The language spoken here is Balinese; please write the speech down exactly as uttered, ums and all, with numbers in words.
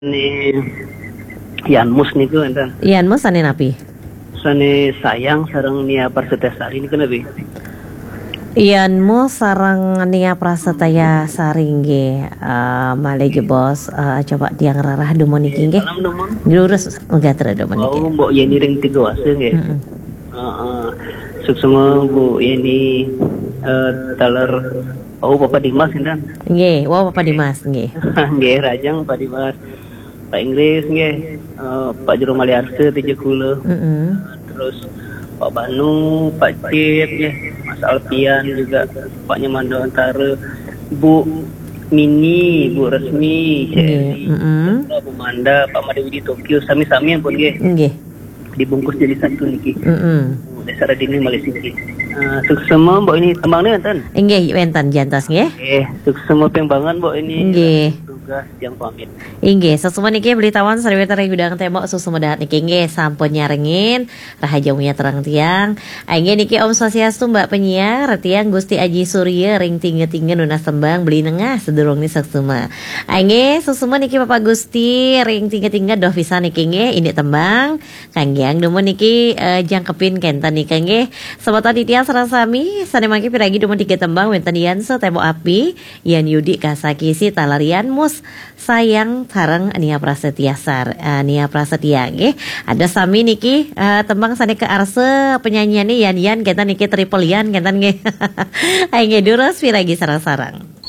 Ni Yan Mus niku enten. Yan Mus sané napi? Sané Sayang sareng Nia Prasetya Sari niku napi? Yan Mus sareng Nia Prasetya Sari nggih. Eh, malih jebos, eh, coba tiang rarah dumun niki nggih. Salam dumun. Lurus gatra dumun niki. Oh, Mbok Yeni ring Tiga Wasa nggih. Mm-mm. Heeh. Suksma Bu Yeni, eh, taler, oh, Bapak Dimas enten. Nggih, wau Bapak Dimas nggih. Nggih, rahajeng Pak Dimas. Pak Inggris nggih, eh, Pak Jero Maliarsa, Teja Kula. Mm-mm. Terus Pak Banu, Pak Cip nggih, Mas Alfian juga, Pak Nyamando Antara, Bu Mini, Bu Resmi, Cik Nggih, Eri, mm-mm. Bu Manda, Pak Made Widi Tokyo, sami-sami ampun nggih. Nggih. Dibungkus jadi satu niki. Mm-mm. Desa Radini malih siki. Eh, suksma Mbok Yeni, tembang niki enten? Inggih, wenten jantos nggih. Nggih, suksma ping banget Mbok Yeni. Nggih. Tugas yang pamit. Inggih, suksma niki bilih tawon sariwita ring gudang tembok, suksma dahat niki nggih sampun nyarengin. Rahajeng wengi terang tiang. Inggih niki Om Swastiastu Mbak penyiar, tiang Gusti Aji Surya ring Tingga-Tingga nunas tembang Beli Nengah sedurung ni suksma. Inggih, suksma niki Bapak Gusti ring Tingga-Tingga doh pisan niki nggih, ini tembang. Kanggiang dumun niki, eh, jangkepin kenten nika nggih. Semeton titiang sareng sami, sané mangkin piragi dumun tiga tembang wenten Yan Setembok Api, Yan Yudi Kasakisi taler Yan Mus Sayang sareng Nia Prasetya Sar-, eh, Nia Prasetya nggih. Ada sami niki, eh, tembang sané kaarsa penyanyiané Yan Yan kenten niki, Triple Yan kenten nggih. Ayo nggih durus piragi sareng-sareng.